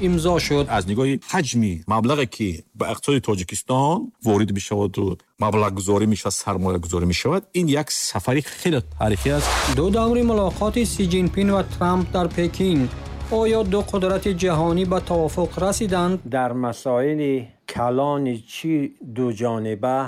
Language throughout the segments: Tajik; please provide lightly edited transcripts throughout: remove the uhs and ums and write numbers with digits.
имзо шуд. Аз нигоҳи ҳаҷми маблағе, ки ба иқтисоди Тоҷикистон ворид мешаваду маблағгузорӣ мешавад, сармоягузорӣ мешавад, ин як сафари хеле таърихӣ аст. Ду даври мулоқоти Си Ҷинпин ва Трамп дар Пекин. Оё ду қудрати ҷаҳонӣ ба тавофуқ расиданд? Дар масоили калони чӣ дуҷониба,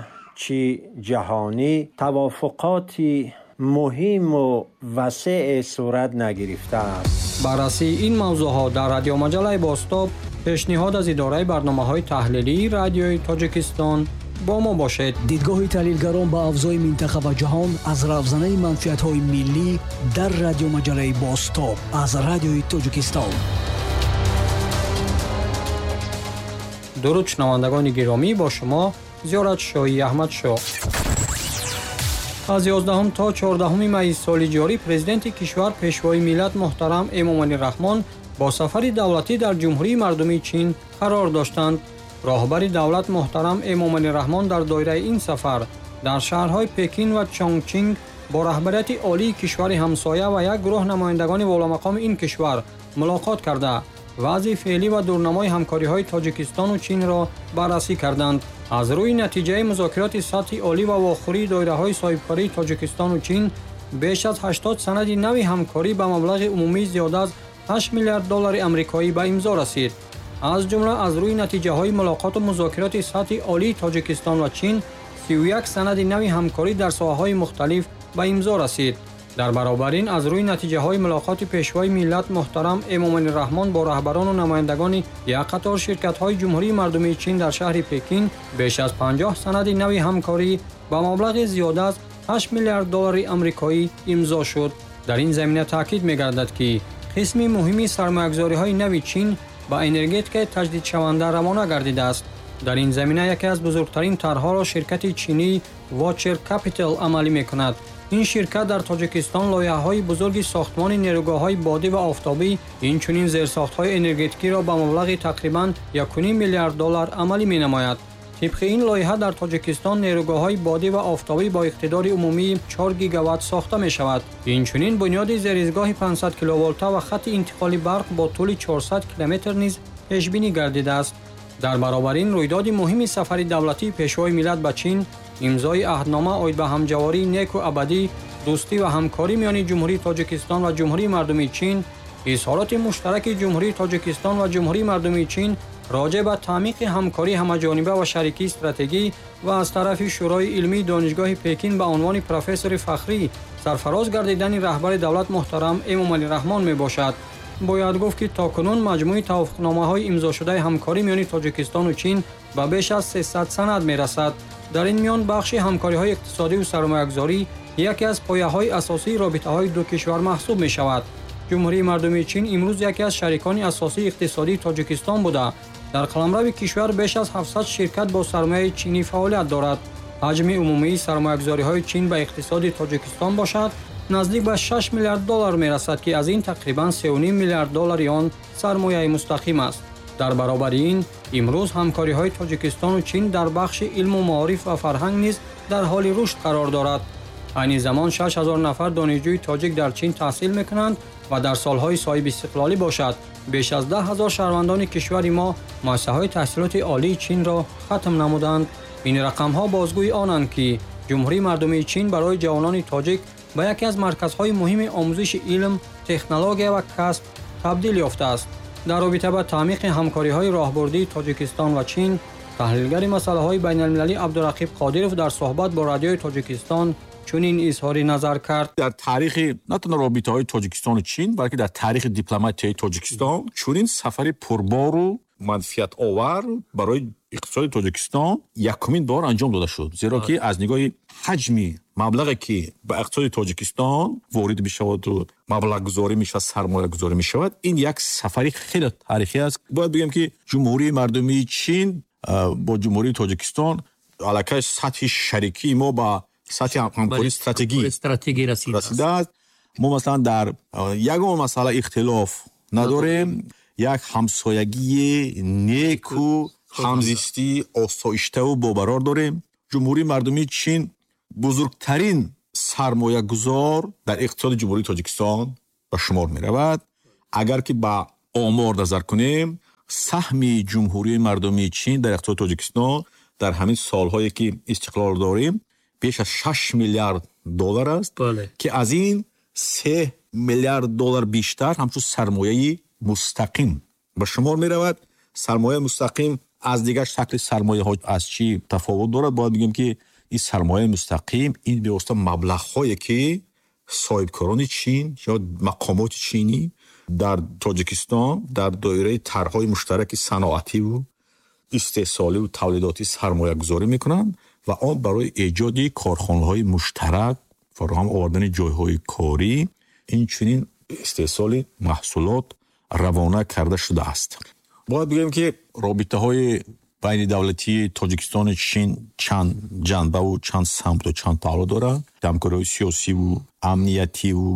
чӣ ҷаҳонӣ тавофуқоти муҳиму васеъе сурат нагирифтааст. Баррасии ин мавзӯъҳо дар радиомаҷаллаи Бозтоб, пешниҳод аз идораи барномаҳои таҳлилии Радиои Тоҷикистон. Бо мо бошед. Дидгоҳи таҳлилгарон ба авзои минтақа ва ҷаҳон аз равзанаи манфиатҳои миллӣ дар радиомаҷаллаи Бозтоб аз Радиои Тоҷикистон. Дуруд шунавандагони гиромӣ, бо шумо Зиёратшоҳи Аҳмадшоҳ. Аз 11 то 14 майи соли ҷорӣ президенти кишвар, пешвои миллат муҳтарам Эмомалӣ Раҳмон бо сафари давлатӣ дар Ҷумҳурии Мардумии Чин қарор доштанд. Роҳбари давлат муҳтарам Эмомалӣ Раҳмон дар доираи ин сафар дар шаҳрҳои Пекин ва Чончинг бо раҳбарияти олии кишвари ҳамсоя ва як гурӯҳ намояндагони воломақоми ин кишвар мулоқот карда, вазъи феълӣ ва дурнамои ҳамкориҳои Тоҷикистону Чинро баррасӣ карданд. Аз рӯи натиҷаи музокироти сатҳи олӣ ва вохӯрии доираҳои соҳибкории Тоҷикистону Чин беш аз 80 санади нави ҳамкорӣ ба маблағи умумии зиёда аз 8 миллиард доллари амрикоӣ ба имзо расид. Аз ҷумла аз рӯи натиҷаҳои мулоқоту музокироти сатҳи олии Тоҷикистон ва Чин 31 санади нави ҳамкорӣ дар соҳаҳои мухталиф ба имзо расид. Дар баробар ин аз рӯи натиҷаҳои мулоқоти пешвои миллат муҳтарам Эмомалӣ Раҳмон бо раҳбарону намояндагони як қатор ширкатҳои Ҷумҳурии Мардумии Чин дар шаҳри Пекин беш аз 50 санади нави ҳамкорӣ ба маблағи зиёда аз 8 миллиард доллари амрикоӣ имзо шуд. Дар ин замина таъкид мегардад, ки қисми муҳими сармоягузориҳои нави Чин ба энергетикаи таҷдидшаванда равона гардидааст. Дар ин замина яке аз бузургтарин тарҳҳоро ширкати чинии Watcher Capital амалӣ мекунад. Ин ширкат дар Тоҷикистон лоиҳаҳои бузурги сохтмони нерӯгоҳҳои бодӣ ва офтобӣ, инчунин зерсохтҳои энергетикиро ба маблағи тақрибан 1,5 миллиард доллар амалӣ менамояд. Тибқи ин лоиҳа дар Тоҷикистон нерӯгоҳҳои бодӣ ва офтобӣ бо иқтидори умумии 4 гигаватт сохта мешавад. Инчунин бунёди зеризгоҳи 500 киловолта ва хатти интиқоли барқ бо тӯли 400 километр низ пешбинӣ гардидааст. Дар баробар ин рӯйдоди муҳими сафари давлатии пешвои миллат ба Чин, имзои аҳднома оид ба ҳамҷавории неку абадӣ, дӯстӣ ва ҳамкорӣ миёни Ҷумҳурии Тоҷикистон ва Ҷумҳурии Мардумии Чин, изҳороти муштараки Ҷумҳурии Тоҷикистон ва Ҷумҳурии Мардумии Чин роҷеъ ба таъмиқи ҳамкории ҳамаҷониба ва шарикии стратегӣ ва аз тарафи Шӯрои илмии Донишгоҳи Пекин ба унвони профессори фахрӣ сарфароз гардидани раҳбари давлат муҳтарам Эмомалӣ Раҳмон мебошад. Бояд гуфт, ки то кунун маҷмӯи тавофуқномаҳои имзошудаи ҳамкорӣ миёни Тоҷикистону Чин ба беш аз 300 санад мерасад. Дар ин миён бахши ҳамкориҳои иқтисодиву сармоягузорӣ яке аз пояҳои асосии робитаҳои ду кишвар маҳсуб мешавад. Ҷумҳурии Мардумии Чин имрӯз яке аз шарикони асосии иқтисодии Тоҷикистон буда, дар қаламрави кишвар беш аз 700 ширкат бо сармояи чинӣ фаъолият дорад. Ҳаҷми умумии сармоягузориҳои Чин ба иқтисоди Тоҷикистон бошад наздик ба 6 миллиард доллар мерасад, ки аз ин тақрибан 3,5 миллиард доллари он сармояи мустақим аст. Дар баробари ин имрӯз ҳамкориҳои Тоҷикистону Чин дар бахши илму маориф ва фарҳанг низ дар ҳоли рушд қарор дорад. Айни замон 6000 нафар донишҷӯи тоҷик дар Чин таҳсил мекунанд ва дар солҳои соҳибистиқлолӣ бошад беш аз 10 000 шаҳрвандони кишвари мо муассисаҳои таҳсилоти олии Чинро хатм намуданд. Ин рақамҳо бозгӯи онанд, ки Ҷумҳурии Мардумии Чин барои ҷавонони тоҷик ба яке аз марказҳои муҳими омӯзиши илм, технология ва касб табдил ёфтааст. Дар робита ба таъмиқи ҳамкориҳои роҳбурдии Тоҷикистон ва Чин, таҳлилгари масъалаҳои байналмилалӣ Абдурақиб Қодиров дар суҳбат бо Радиои Тоҷикистон чунин изҳори назар кард. Дар таърихи на танҳо робитаҳои Тоҷикистону Чин, балки дар таърихи дипломатияи Тоҷикистон чунин сафари пурбору манфиатовар барои иқтисоди Тоҷикистон якумин бор анҷом дода шуд. Зеро ки аз нигоҳи ҳаҷми маблағе, ки ба иқтисоди Тоҷикистон ворид мешаваду маблағгузорӣ мешавад, сармоягузорӣ мешавад, ин як сафари хеле таърихӣ аст. Бояд бигӯем, ки Ҷумҳурии Мардумии Чин бо Ҷумҳурии Тоҷикистон аллакай сатҳи шарикии мо ба сатҳи ҳамкории стратегӣ расидааст. Мо масалан дар ягон масъала ихтилоф надорем, як ҳамсоягии неку ҳамзистии осоиштаву бобарор дорем. Ҷумҳурии Мардумии Чин бузургтарин сармоягузор дар иқтисоди Ҷумҳурии Тоҷикистон ба шумор меравад. Агар ки ба омор назар кунем, Саҳми Ҷумҳурии Мардумии Чин дар иқтисоди Тоҷикистон дар ҳамин солҳое, ки истиқлол дорем, беш аз 6 миллиард доллар аст, ки аз ин 3 миллиард доллар бештар ҳамчун сармояи мустақим ба шумор меравад. Сармояи мустақим аз дигар шакли сармояҳо аз чӣ тафовут дорад? Бояд бигӯем, ки ин сармояи мустақим ин бевосита маблағҳое, ки соҳибкорони Чин ё мақомоти чинӣ дар Тоҷикистон дар доираи тарҳҳои муштараки саноативу истеҳсоливу тавлидотӣ сармоягузорӣ мекунанд ва он барои эҷоди корхонаҳои муштарак, фароҳам овардани ҷойҳои корӣ, инчунин истеҳсоли маҳсулот равона карда шудааст. Бояд бигӯем, ки робитаҳои байни давлатии Тоҷикистону Чин чанд ҷанбаву чанд самту чанд паҳлӯ дорад. Ҳамкориҳои сиёсиву амниятиву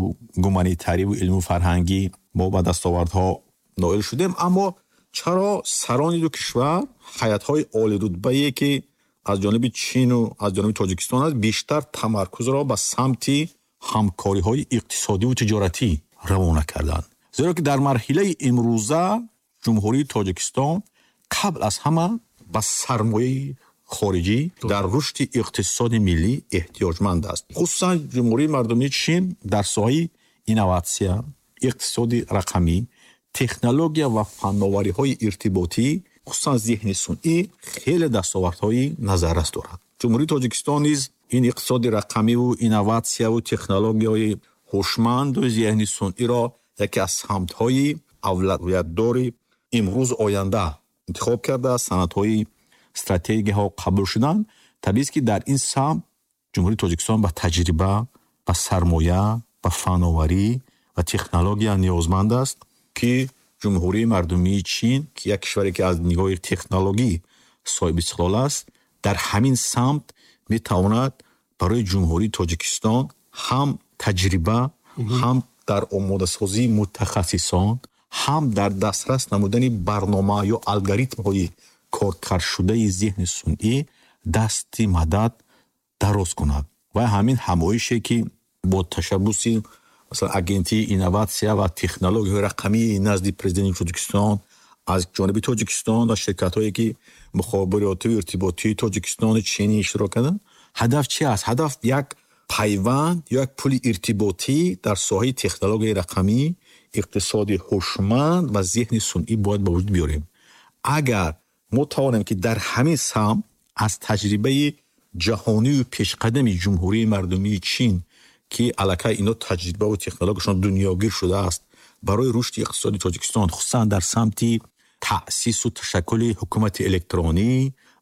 гуманитариву илму фарҳангӣ мо ба дастовардҳо ноил шудем, аммо чаро сарони ду кишвар, ҳайатҳои олирутбае, ки аз ҷониби Чину аз ҷониби Тоҷикистон аст, бештар тамаркузро ба самти ҳамкориҳои иқтисодиву тиҷоратӣ равона карданд? Зеро ки дар марҳилаи имрӯза Ҷумҳурии Тоҷикистон қабл аз ҳама ба сармояи хориҷӣ дар рушди иқтисоди миллӣ эҳтиёҷманд аст. Хусусан Ҷумҳурии Мардумии Чин дар соҳаи инноватсия, иқтисоди рақамӣ, технология ва фанновариҳои иртиботӣ, хусусан зеҳни сунъӣ, хеле дастовардҳои назаррас дорад. Ҷумҳурии Тоҷикистон низ ин иқтисоди рақамиву инноватсияву технологияҳои ҳушманду зеҳни сунъиро яке аз самтҳои авлавиятдори имрӯз оянда интихоб кардааст. Санадҳои стратегияҳо қабул шуданд. Табиист, ки дар ин самт Ҷумҳурии Тоҷикистон ба таҷриба, ба сармоя, ба фановарӣ ва технология ниёзманд аст, ки Ҷумҳурии Мардумии Чин, ки як кишваре, ки аз нигоҳи технологӣ соҳиби истиқлол аст, дар ҳамин самт метавонад барои Ҷумҳурии Тоҷикистон ҳам таҷриба, ҳам дар омодасозии мутахассисон, ҳам дар дастрас намудани барнома ё алгоритмҳои коркардшудаи зеҳни сунъӣ дасти мадад дароз кунад. Ва ҳамин ҳамоише, ки бо ташаббуси, масалан, Агентии инноватсия ва технологияҳои рақамии назди Президенти Тоҷикистон аз ҷониби Тоҷикистон ва ширкатҳое, ки мухобиротиву иртиботии Тоҷикистону Чинӣ иштирок карданд, ҳадаф чи аст? Ҳадаф як пайванд ё як пули иртиботӣ дар соҳаи технологияи рақамӣ, иқтисоди ҳушманд ва зеҳни сунъӣ бояд ба вуҷуд биёрем. Агар мо тавонем, ки дар ҳамин самт аз таҷрибаи ҷаҳонию пешқадами Ҷумҳурии Мардумии Чин, ки аллакай ино таҷрибаву технологияшон дунёгир шудааст, барои рушди иқтисоди Тоҷикистон, хусусан дар самти таъсису ташаккули ҳукумати электронӣ,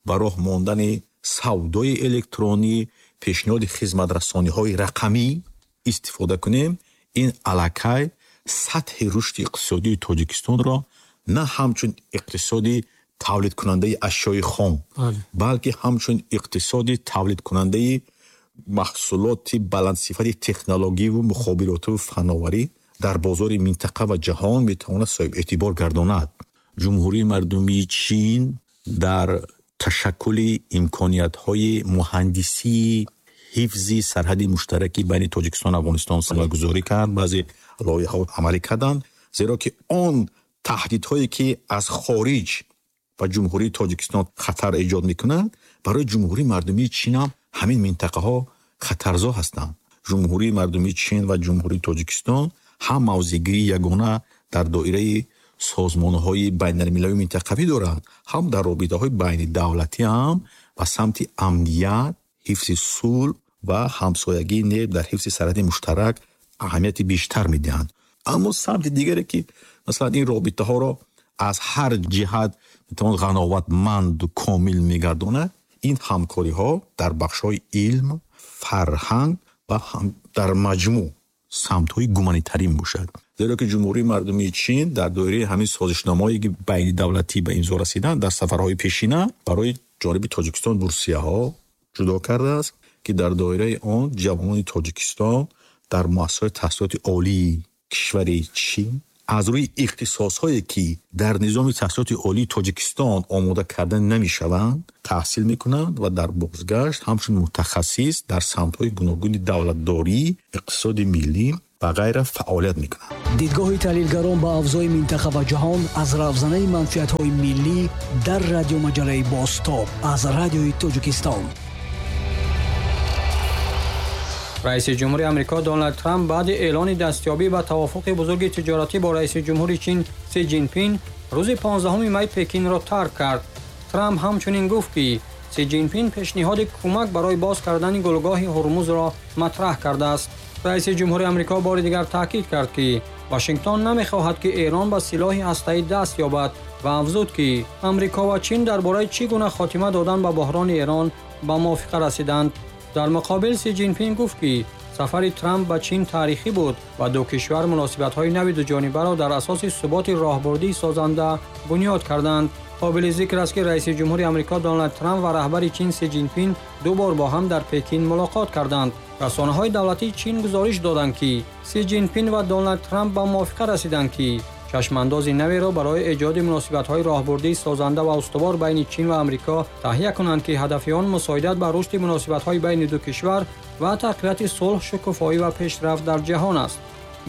ба роҳ мондани савдои электронӣ, пешниҳоди хизматрасониҳои рақамӣ истифода кунем, ин аллакай сатҳи рушди иқтисодии Тоҷикистонро на ҳамчун иқтисоди тавлидкунандаи ашёи хом, балки ҳамчун иқтисоди тавлидкунандаи маҳсулоти баландсифати технологиву мухобиротиву фановарӣ дар бозори минтақа ва ҷаҳон метавонад соҳибэътибор гардонад. Ҷумҳурии Мардумии Чин дар ташаккули имкониятҳои муҳандисии ҳифзи сарҳади муштараки байни Тоҷикистону Афғонистон сармоягузорӣ кард, баъзе лоиҳаҳо амалӣ карданд, зеро ки он таҳдидҳое, ки аз хориҷ ба Ҷумҳурии Тоҷикистон хатар эҷод мекунанд, барои Ҷумҳурии Мардумии Чин ҳам ҳамин минтақаҳо хатарзо ҳастанд. Ҷумҳурии Мардумии Чин ва Ҷумҳурии Тоҷикистон ҳам мавзеъгирии ягона дар доираи созмонҳои байналмилалию минтақавӣ доранд, ҳам дар робитаҳои байнидавлатӣ ҳам ба самти амният, ҳифзи сулҳ ва ҳамсоягии нек дар ҳифзи сарҳади муштарак аҳамияти бештар медиҳанд. Аммо самти дигаре, ки масалан ин робитаҳоро аз ҳар ҷиҳат метавон ғановатманду комил мегардонад, ин ҳамкориҳо дар бахшҳои илм, фарҳанг ва дар маҷмӯъ самтҳои гуманитарӣ мебошад, зеро ки Ҷумҳурии Мардумии Чин дар доираи ҳамин созишномаҳое, ки байнидавлатӣ ба имзо расиданд, дар сафарҳои пешина барои ҷониби Тоҷикистон бурсияҳо ҷудо кардааст, ки дар доираи он ҷавонони Тоҷикистон дар муассисаҳои таҳсилоти олии кишвари Чин аз рӯи ихтисосҳое, ки дар низоми таҳсилоти олии Тоҷикистон омода карда намешаванд, таҳсил мекунанд ва дар бозгашт ҳамчун мутахассис дар самтҳои гуногуни давлатдорӣ, иқтисоди миллӣ ва ғайра фаъолият мекунанд. Дидгоҳи таҳлилгарон ба авзои минтақа ва ҷаҳон аз равзанаи манфиатҳои миллӣ дар радиомаҷалаи Бозтоб аз Радиои Тоҷикистон. Раиси ҷумҳури Амрико Доналд Трамп баъди эълони дастёбӣ ба тавофуқи бузурги тиҷоратӣ бо раиси ҷумҳури Чин Си Ҷинпин рӯзи 15 май Пекинро тарк кард. Трамп ҳамчунин гуфт, ки Си Ҷинпин пешниҳоди кӯмак барои боз кардани гулгоҳи Ҳурмузро матраҳ кардааст. Раиси ҷумҳури Амрико бори дигар таъкид кард, ки Вашингтон намехоҳад, ки Эрон ба силоҳи ҳастаӣ даст ёбад ва афзуд, ки Амрико ва Чин дар бораи чӣ гуна хотима додан ба буҳрони Эрон ба мувофиқа расиданд. Дар муқобил Си Ҷинпин гуфт, ки сафари Трамп ба Чин таърихӣ буд ва ду кишвар муносибатҳои нави дуҷонибаро дар асоси суботи роҳбурдии созанда бунёд карданд. Қобили зикр аст, ки раиси ҷумҳури Амрико Доналд Трамп ва раҳбари Чин Си Ҷинпин ду бор бо ҳам дар Пекин мулоқот карданд. Расонаҳои давлатии Чин гузориш доданд, ки Си Ҷинпин ва Доналд Трамп ба мувофиқа расиданд, ки чашмандози наверо барои эҷоди муносибатҳои роҳбурдии созанда ва устувор байни Чин ва Амрико таҳия кунанд, ки ҳадафи он мусоидат ба рушди муносибатҳои байни ду кишвар ва тақвияти сулҳ, шукуфоӣ ва пешрафт дар ҷаҳон аст.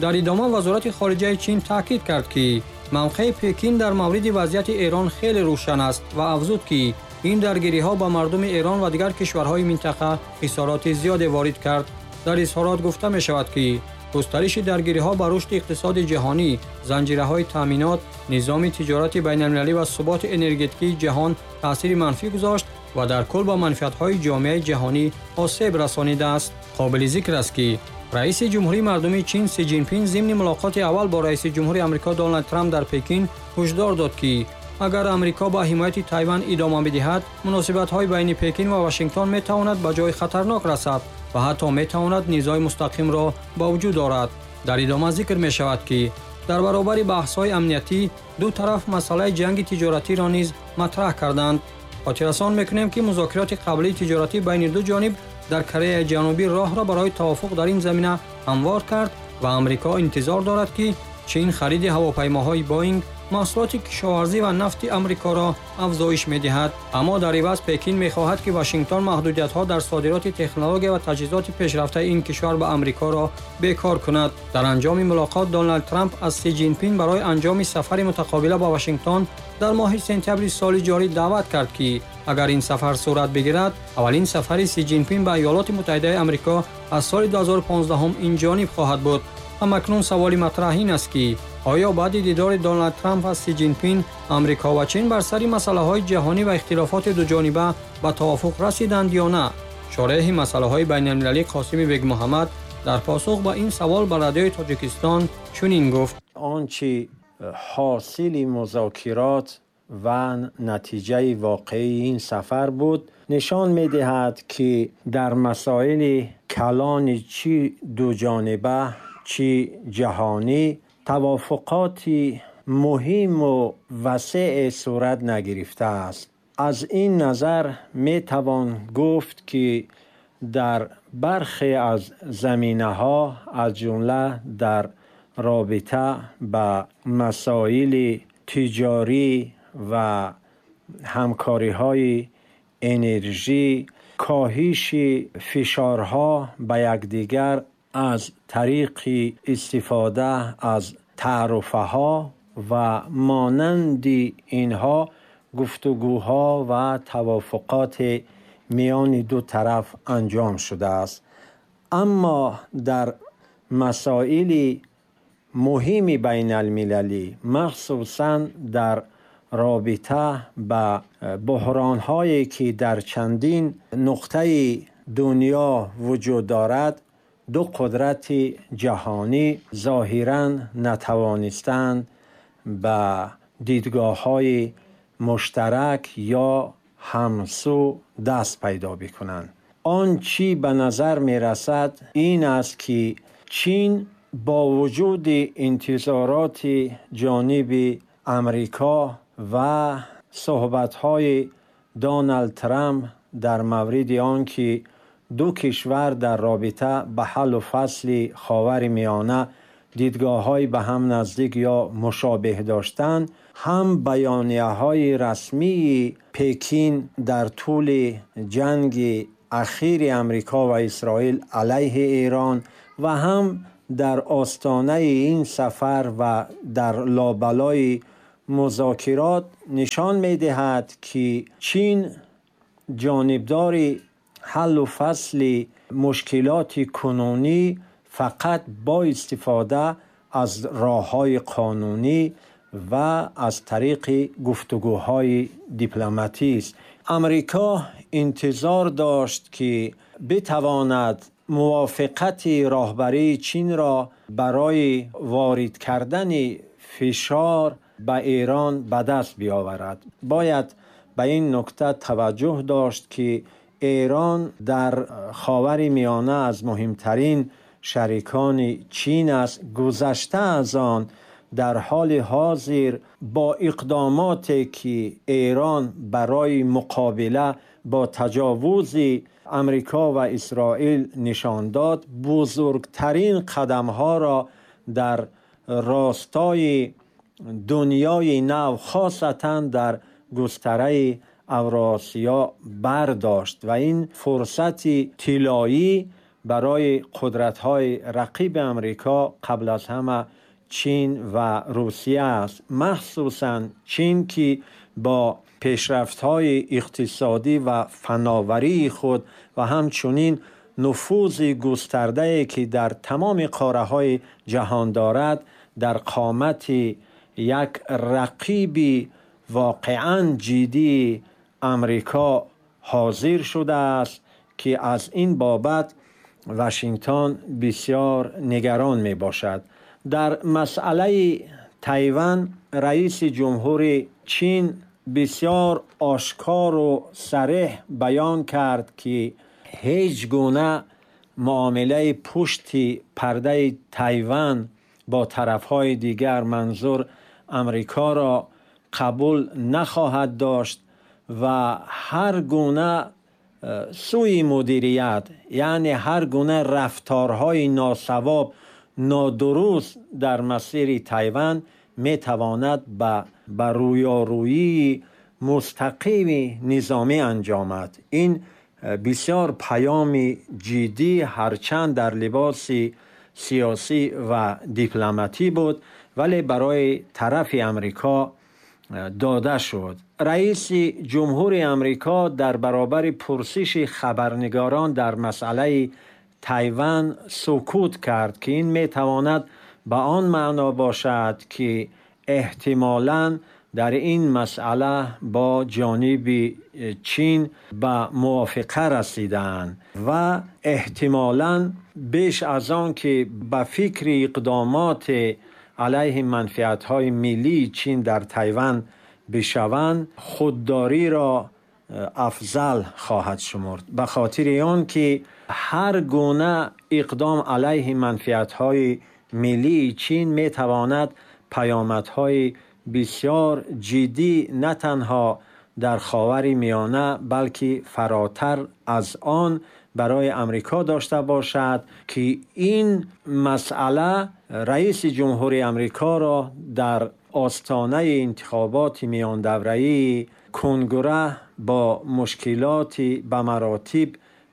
Дар идома Вазорати хориҷаи Чин таъкид кард, ки мавқеи Пекин дар мавриди вазъияти Эрон хеле рӯшан аст ва афзуд, ки ин даргириҳо ба мардуми Эрон ва дигар кишварҳои минтақа хисороти зиёде ворид кард. Дар изҳорот гуфта мешавад, ки густариши даргириҳо ба рушди иқтисоди ҷаҳонӣ, занҷираҳои таъминот, низоми тиҷорати байналмилалӣ ва суботи энергетикии ҷаҳон таъсири манфӣ гузошт ва дар кул ба манфиатҳои ҷомеаи ҷаҳонӣ осеб расонидааст. Қобили зикр аст, ки раиси ҷумҳурии мардумии Чин Си Ҷинпин зимни мулоқоти аввал бо раиси ҷумҳури Амрико Доналд Трамп дар Пекин ҳушдор дод, ки агар Амрико ба ҳимояти Тайван идома бидиҳад, муносибатҳои байни Пекин ва Вашингтон метавонад ба ҷои хатарнок расад ва ҳатто метавонад низои мустақимро ба вуҷуд орад. Дар идома зикр мешавад, ки дар баробари баҳсҳои амниятӣ ду тараф масъалаи ҷанги тиҷоратиро низ матраҳ карданд. Хотиррасон мекунем, ки музокироти қаблии тиҷоратӣ байни ду ҷониб дар Кореяи Ҷанубӣ роҳро барои тавофуқ дар ин замина ҳамвор кард ва Амрико интизор дорад, ки Чин хариди ҳавопаймоҳои Боинг, маҳсулоти кишоварзӣ ва нафти Амрикоро афзоиш медиҳад. Аммо дар иваз Пекин мехоҳад, ки Вашингтон маҳдудиятҳо дар содироти технология ва таҷҳизоти пешрафтаи ин кишвар ба Амрикоро бекор кунад. Дар анҷоми мулоқот Доналд Трамп аз Си Ҷинпин барои анҷоми сафари мутақобила ба Вашингтон дар моҳи сентябри соли ҷорӣ даъват кард, ки агар ин сафар сурат бигирад, аввалин сафари Си Ҷинпин ба Иёлоти Муттаҳидаи Амрико аз соли 2015 ин ҷониб хоҳад буд. Ҳамакнун саволи матраҳ ин аст, ки оё баъди дидори Доналд Трамп ва Си Ҷинпин Амрико ва Чин бар сари масъалаҳои ҷаҳонӣ ва ихтилофоти дуҷониба ба тавофуқ расиданд ё на? Шореҳи масъалаҳои байналмилалӣ Қосими Бегмуҳаммад дар посух ба ин савол ба Радиои Тоҷикистон чунин гуфт: он чи ҳосили музокирот ва натиҷаи воқеии ин сафар буд, нишон медиҳад, ки дар масоили калони чӣ дуҷониба, чӣ ҷаҳонӣ тавофуқоти муҳиму васеъ сурат нагирифтааст. Аз ин назар метавон гуфт, ки дар бархе аз заминаҳо, аз ҷумла дар робита ба масоили тиҷорӣ ва ҳамкориҳои энержӣ, коҳиши фишорҳо ба якдигар аз тариқи истифода аз таъруфаҳо ва монанди инҳо гуфтугӯҳо ва тавофуқот миёни ду тараф анҷом шудааст. Аммо дар масоили муҳими байналмилалӣ, махсусан дар робита ба буҳронҳое ки дар чандин нуқтаи дунё вуҷуд дорад, ду қудрати ҷаҳонӣ зоҳиран натавонистанд ба дидгоҳҳои муштарак ё ҳамсу даст пайдо бикунанд. Он чӣ ба назар мерасад ин аст, ки Чин бо вуҷуди интизороти ҷониби Амрико ва суҳбатҳои Доналд Трамп дар мавриди он ки ду кишвар дар робита ба ҳаллу фасли Ховари Миёна дидгоҳҳои ба ҳам наздик ё мушобеҳ доштанд, ҳам баёнияҳои расмии Пекин дар тӯли ҷанги ахири Амрико ва Исроил алайҳи Эрон ва ҳам در آستانه این سفر و در لابلای مذاکرات نشان می‌دهد که چین جانبدار حل و فصل مشکلات کنونی فقط با استفاده از راه‌های قانونی و از طریق گفتگوهای دیپلماتی است. امریکا انتظار داشت که بتواند موافقت راهبری چین را برای وارد کردن فشار به ایران به دست بیاورد. باید به این نکته توجه داشت که ایران در خاور میانه از مهمترین شریکان چین است. گذشته از آن در حال حاضر با اقداماتی که ایران برای مقابله با تجاوز امریکا و اسرائیل نشان داد، بزرگترین قدم‌ها را در راستای دنیای نو، خاصتاً در گستره اوراسیا برداشت و این فرصت طلایی برای قدرت‌های رقیب امریکا قبل از همه چین و روسیه است. مخصوصاً چین که با پیشرفت‌های اقتصادی و فناوری خود و همچنین نفوذ گسترده‌ای که در تمام قاره‌های جهان دارد، در قامت یک رقیب واقعاً جدی امریکا حاضر شده است که از این بابت واشنگتن بسیار نگران می باشد. در مسئله تایوان رئیس جمهور چین بسیار آشکار و صریح بیان کرد که هیچ گونه معامله پشت پرده تایوان با طرفهای دیگر، منظور امریکا، را قبول نخواهد داشت و هر گونه سوی مدیریت، یعنی هر گونه رفتارهای ناسواب، نادرست در مسیر تایوان می تواند به رویارویی مستقیم نظامی انجامد. این بسیار پیام جدی، هرچند در لباس سیاسی و دیپلماتی بود، ولی برای طرف امریکا داده شد. رئیس جمهور امریکا در برابر پرسش خبرنگاران در مسئله تایوان سکوت کرد که این می تواند به آن معنا باشد که احتمالاً در این مسئله با جانب چین به موافقه رسیدند و احتمالاً بیش از آن که به فکر اقدامات علیه منفعت‌های ملی چین در تایوان بشوند، خودداری را افضل خواهد شمرد، به خاطر آن که هر گونه اقدام علیه منفعت‌های ملی چین می‌تواند پیامدهای بسیار جدی نه تنها در خاور میانه بلکه فراتر از آن برای امریکا داشته باشد که این مسئله رئیس جمهور امریکا را در آستانه انتخابات میان دوره‌ای کنگره با مشکلات به مراتب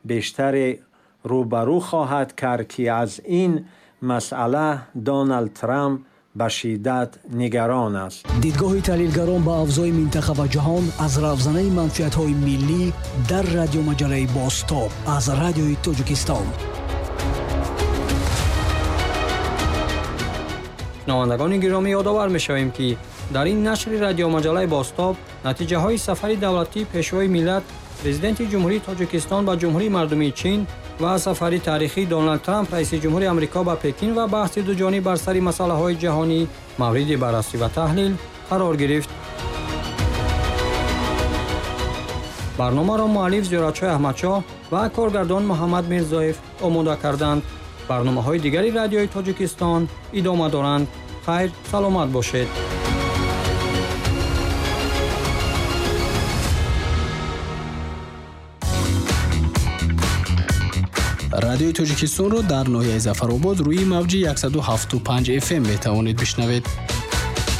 بیشتر روبرو خواهد کرد که از این مسئله دونالد ترامپ به شدت نگران است. دیدگاه تحلیلگران به اوضاع منطقه و جهان از روزنه منفعت‌های ملی در رادیو مجله بازتاب از رادیوی تاجیکستان. شنوندگان گرامی، یادآور می‌شویم که در این نشر رادیو مجله بازتاب نتیجه‌های سفر دولتی پیشوای ملت پرزیدنت جمهوری تاجیکستان به جمهوری مردمی چین و سفر تاریخی دونالد ترامپ رئیس جمهور آمریکا به پکین و بحث دو جانبه بر سر مسائل جهانی مورد بررسی و تحلیل قرار گرفت. برنامه را مؤلف زیارتشاه احمدشاه و کارگردان محمد میرزایف آماده کردند. برنامه‌های دیگری رادیوی تاجیکستان ادامه دارند. خیر، سلامت باشید. Радиои Тоҷикистонро дар ноҳияи Зафаробод рӯи мавҷи 107.5 FM метавонед бишнавед.